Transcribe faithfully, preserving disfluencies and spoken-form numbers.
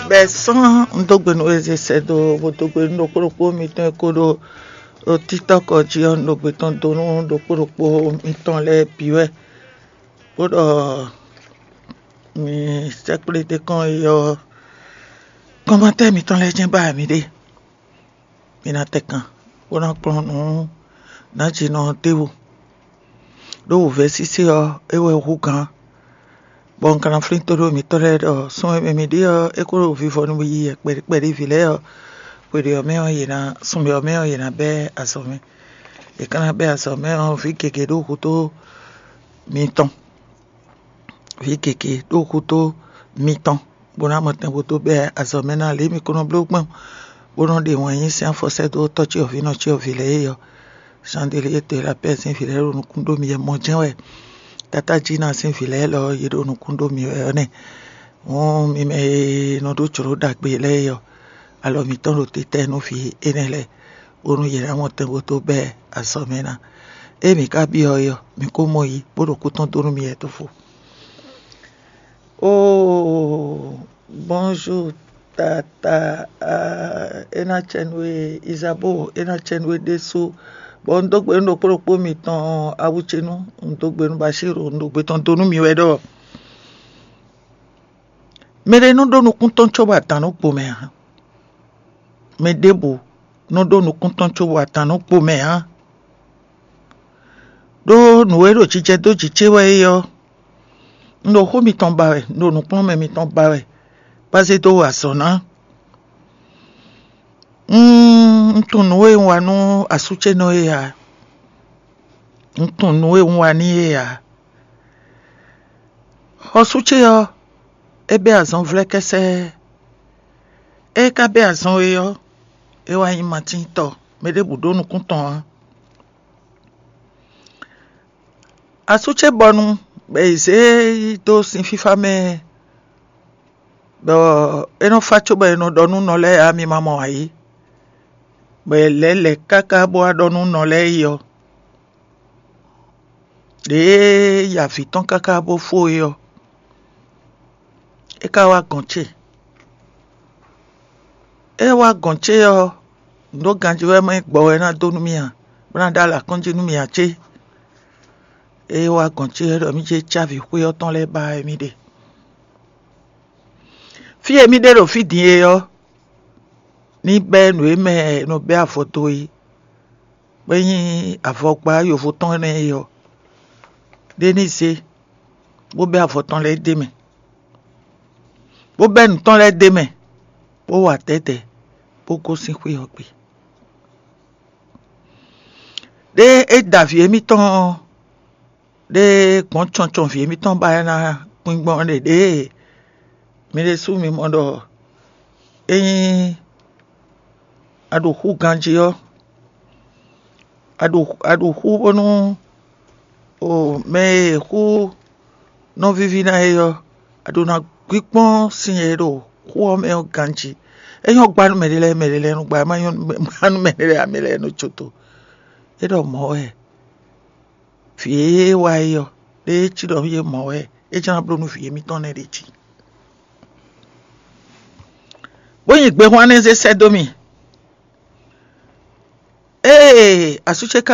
Bɛ sán un dó gbe nú eze sɛ́ dó, bó dó gbe nú ɖokpó ɖokpó mitɔn e ko ɖo ɖo TikTok jí ɔ́, un ɖo gbe tɔn dó nú ɖokpó ɖokpó mitɔn lɛ́ɛ bǐ wɛ, bó ɖɔ mi sɛ́kplé ɖé kɔn yi ɔ́, kɔnmatɛ́ mitɔn lɛ́ɛ jɛ́n ba mǐ ɖe. Mi ná tɛ kan, bó ná kplɔ́n nǔ nǎjinɔ ɔ́ d'é wú. Ɖó wǔvɛ́ sísí ɔ́, é wɛ hú gǎn, bɔ un ka ná flín tóɖó mitɔ́ lɛ́ɛ ɖɔ sun e mɛ mǐ ɖe ɔ́, é ko ɖo vivɔ nú yiyi wɛ kpɛɖé kpɛɖé vǐ lɛ́ɛ ɔ́, xwe ɖé ɔ́ mɛ ɔ́, yě ná sunmɛ ɔ́ mɛ ɔ́, yě ná bɛ́ azɔ̌ mɛ. Yě ka ná bɛ́ azɔ̌ mɛ ɔ́, vǐ gěgé ɖó hútó mitɔn. Vǐ gěgé ɖó hútó mitɔn, bó ná mɔtɛn bó dó bɛ́ azɔ̌ mɛ ná lě mi ko nɔ bló gbɔn, bó nɔ ɖe wǎn yí sín afɔ sɛ́ dó tɔ́ cyɔvǐ nɔ cyɔvǐ lɛ́ɛ é ɔ́. Chandelier de la paix sín vǐ lɛ́ɛ ɖo nukún ɖó mi yɛ mɔ jɛ́n wɛ. Tátájínà sín vǐ lɛ́ɛ lɔ yě ɖo nukún ɖó mi wɛ ɔ́ nɛ́. Hǔn mi mɛ e nɔ ɖó jlǒ ɖagbe lɛ́ɛ é ɔ́, alɔ mǐtɔn ɖo títɛ́ nú vǐ énɛ́ lɛ́ɛ, bónú yě ná mɔ tɛn bó dó bɛ́ azɔ̌ mɛ ná. Ée mǐ ka byɔ́ é ɔ́, mǐ ko mɔ yi, bó ɖo kú tɔn dó nú mi wɛ tófó. Oh, bonjour tata. Ah, é ná cɛ nú we Isabeau, é ná cɛ nú we ɖésú. Bɔ un dó gbe nú ɖokpó ɖokpó mitɔn awu ce nú, un dó gbe nú Bashir, un ɖo gbe tɔn dó nú mi wɛ ɖɔ mɛ ɖé nɔ ɖó nukún tɔn cóbɔ adǎn nɔ gbo mɛ ǎ. Mɛ ɖěbǔ nɔ ɖó nukún tɔn cóbɔ adǎn nɔ gbo mɛ ǎ. Ɖó nǔ e ɖo jijɛ dó jǐ ce wɛ é ɔ́, un ɖo xó mitɔn ba wɛ, un ɖo nǔkplɔ́nmɛ mitɔn ba wɛ, bó zé dó wa azɔ̌ ná. Un tunwun nǔ e un wa nú asú ce nɔ é ǎ. Un tunwun nǔ e un wa n'i é ǎ. Xɔsú ce ɔ́, é bɛ́ azɔn vlɛ́kɛ́sɛ́. É ka bɛ́ azɔn e ɔ́, é wá nyí matíntɔ, mɛ ɖěbǔ ɖó nukún tɔn ǎ. Asú ce bɔnu bɔ è zě e yi dó sin fífá mɛ, bɔ é nɔ fá cóbɔ è nɔ ɖɔ nú nɔ lɛ́ɛ ǎ, mi ma mɔ ǎ é. Bɔ è lɛ̌ lɛ̌ káká bó wá ɖɔ nú nɔ lɛ́ɛ yi ɔ́, ɖěe yi avǐ tɔn káká bó fó é ɔ́, é ka wá gɔ̌n ce. É wá gɔ̌n ce ɔ́, nǔ ɖó ganjí wɛ mɛ gbɔ wɛ ná dó nú mì a, bó ná ɖó alɔ akɔ́njí nú mì a cé? É wá gɔ̌n ce wɛ ɖɔ mì jɛ cávi xwé ɔ́ tɔn lɛ́ɛ ba wɛ mì ɖe. Fí e mì ɖe ɖo fí din e ɔ́, ní bɛ́ nǔ e mɛ è nɔ bɛ́ avɔ dó é, bó nyí avɔgbá yovo tɔn énɛ́ é ɔ́, ɖé ní zé, bó bɛ́ avɔ tɔn lɛ́ɛ d'é mɛ, bó bɛ́ nǔ tɔn lɛ́ɛ d'é mɛ, bó wa dɛ̌dɛ̌, bó gosín xwé ɔ́ gbe. Ɖé é da vǐ émítɔn ɔ́, ɖé gbɔn cɔncɔn vǐ émítɔn ba ná kpín gbɔn ɖe ɖěe mi ɖésú mi mɔ ɖɔ ényí a ɖo xú ganjí ɔ́, a ɖo a ɖo xú bónú o mɛ e xú nɔ víví ná é ɔ́, a ɖo ná gbígbɔn sin e ɖo xú ɔ́ mɛ ɔ́ ganjí. É nyɔ́ gbá nú mɛɖé lɛ́ɛ, mɛɖé lɛ́ɛ nɔ gbá, é má nyɔ́ gbá nú mɛɖé lɛ́ɛ, mɛ lɛ́ɛ nɔ có tó. É ɖɔ mɔ̌ wɛ vǐ e wá é ɔ́, ɖé é cí ɖɔ yé mɔ̌ wɛ é jlá bló nú vǐ émítɔn nɛ́ ɖě jí. Bó nyi gbehwán nɛ́ zé sɛ́ dó mì. Ée asú ce ka